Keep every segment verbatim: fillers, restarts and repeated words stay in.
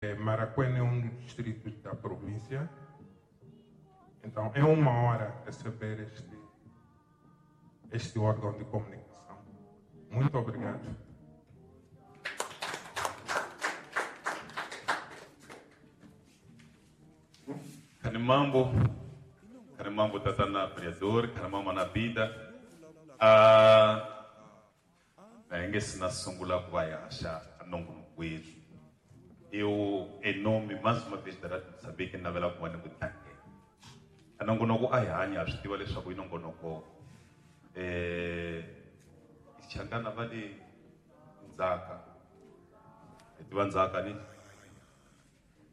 Marracuene é um dos distritos da província. Então, é uma honra receber este, este órgão de comunicação. Muito obrigado. Kanimambo, Kanimambo tatana vereador, Kanimambo na vida. Ah, na sungula ku va hi haxa nongonoko. Eu, em nome, mais uma vez, da Rádio Moçambique, navela ku va ni ku tlangela. A nongonoko a hi hanya, swi tiva leswaku i nongonoko eh Changana va le ndzhaka. Hi tiva ndzhaka ni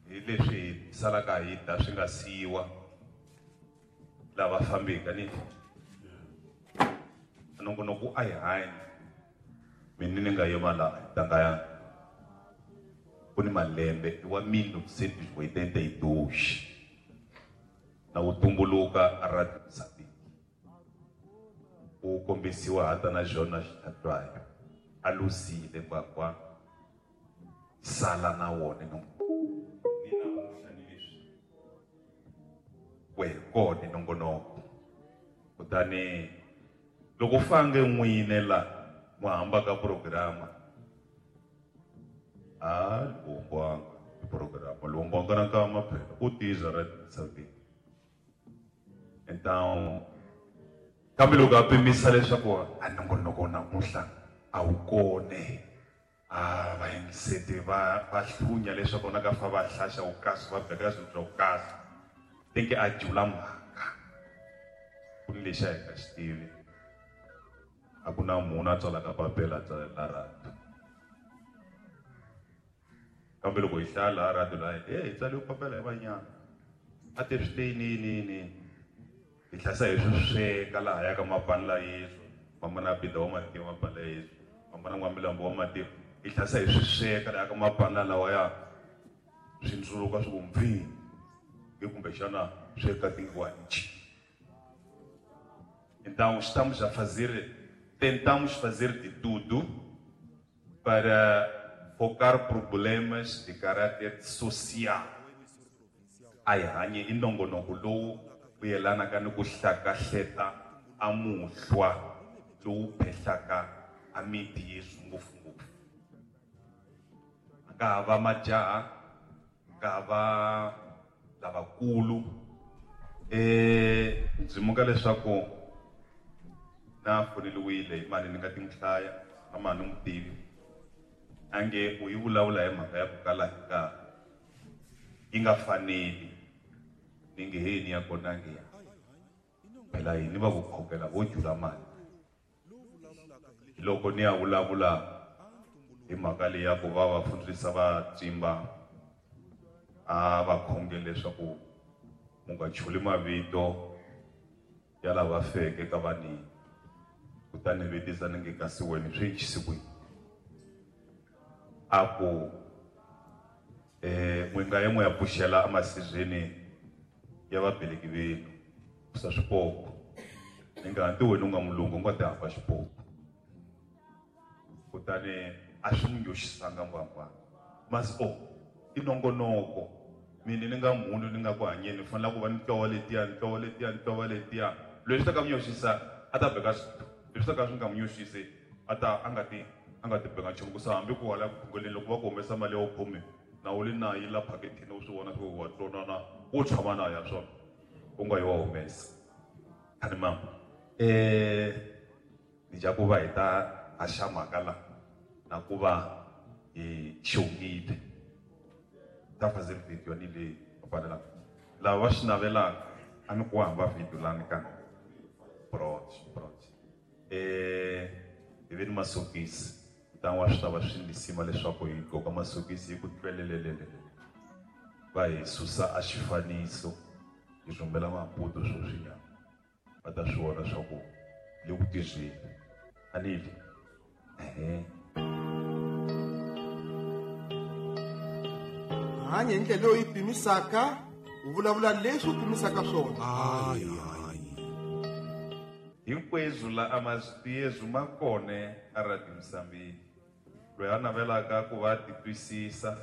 hi leswi hi salaka hi ta swi nga siyiwa lava fambeka ni nongonoko a hi hanya. Mina ni nga yima laha ntanga ya ku ni malembe wa mil novecentos e oitenta e dois na wu tumbuluka a Radio Moçambique wu kombisiwa hata na Jonas Xitlhatwayo a luzile kwakwa sala na wona no ni namuntlha ni leswi wehe kona nongonoko kutani loko fange n'wine la muhamba ka programa ah lumbwanga programa lumbwanga na kama phela u tiza Radio Moçambique. Então kambe loko a pimisa leswaku a nongonoko namuntlha a wu kone a va yingiseti va va hlunya leswaku na ka fa va hlaxa wu kasi va beka swilo swa wu kasi tinke a jula mhaka ku ni lexi a hi nga xi tivi a ku na munhu a tsalaka papila a tsalela radio kambe loko hi hlaya laha radio laha e hi tsaliwe papila hi vanyana a te swi te yini yini yini hi tlhasa hi swi sweka laha ya ka mapani la Yesu mamana bida wa mativa mapani la Yesu mamana n'wamilambo wa mativa hi tlhasa hi swi sweka laha ka mapani lawa ya swi ndzuluka swi ku mpfini hi kumbexana sweka tinguanchi. Então estamos a fazer, tentamos fazer de tudo para focar problemas de caráter social. A hi hanye i nongonoko lowu wu yelanaka ni ku hlakahleta a muhlwa lowu phehlaka a miti yesu ngopfungopfu. A nga ha va majaha, a nga ha va lavakulu. Eh, ndzi muka leswaku na foneliwile hi mali ni nga ti n'wi hlaya na mali ni n'wi tivi ange u yi vulavula hi mhaka ya ku kala hi nkarhi yi nga faneli ni nge heni ya kona nge ya phela yini va ku khokela vo jula mali loko ni ya vulavula hi mhaka leyi ya ku va va fundzisa va tsimba a va khongele leswaku mu nga chuli mavito ya lava feke ka vanini kutani vutisa ni nge kasi wena swi endlise ku yini a ku eh n'wi nga ye n'wi ya pfuxela emasirheni ya vabeleki venu kusa swipoko ni nga hanti wena u nga mulungu u nga ti hamba xipoko kutani a swi n'wi nyoxisanga ngwangwa masi o i nongonoko mina ni nga munhu ni nga ku hanyeni ni fanele ku va ni tlowa letiya ni tlowa letiya ni tlowa letiya leswi ta ka n'wi nyoxisa a ta beka leswi ta ka swi nga n'wi nyoxisi a ta a nga ti a nga ti beka nchumu ku sa hambi ku wala khongeleni loko va ku humesa mali ya wu khume na wu li na yi la phakethini u swi vona swi wa tlonana wo tshama na ya swona u nga yi wa humesa khani mama eh ni ja ku va hi ta haxa mhaka la na ku va hi xongile ta fazer video ni le fanela lava va swi navelaka a ni ku hamba video lani ka broad broad eh hi ve ni masokisi kutani wa swi ta va swi lisima leswaku hi gqoka masokisi hi ku tlwelelelelele va hi susa a xifaniso hi rhumela maputo sweswinyana va ta swi vona swa ku le ku tirheni a ni li ehe hanya hi ndlela leyi pimisaka u vulavula leswi u pimisaka swona. Hinkweswo la a mazwi ma kona a Radio Moçambique loyi a navelaka ku va titwisisa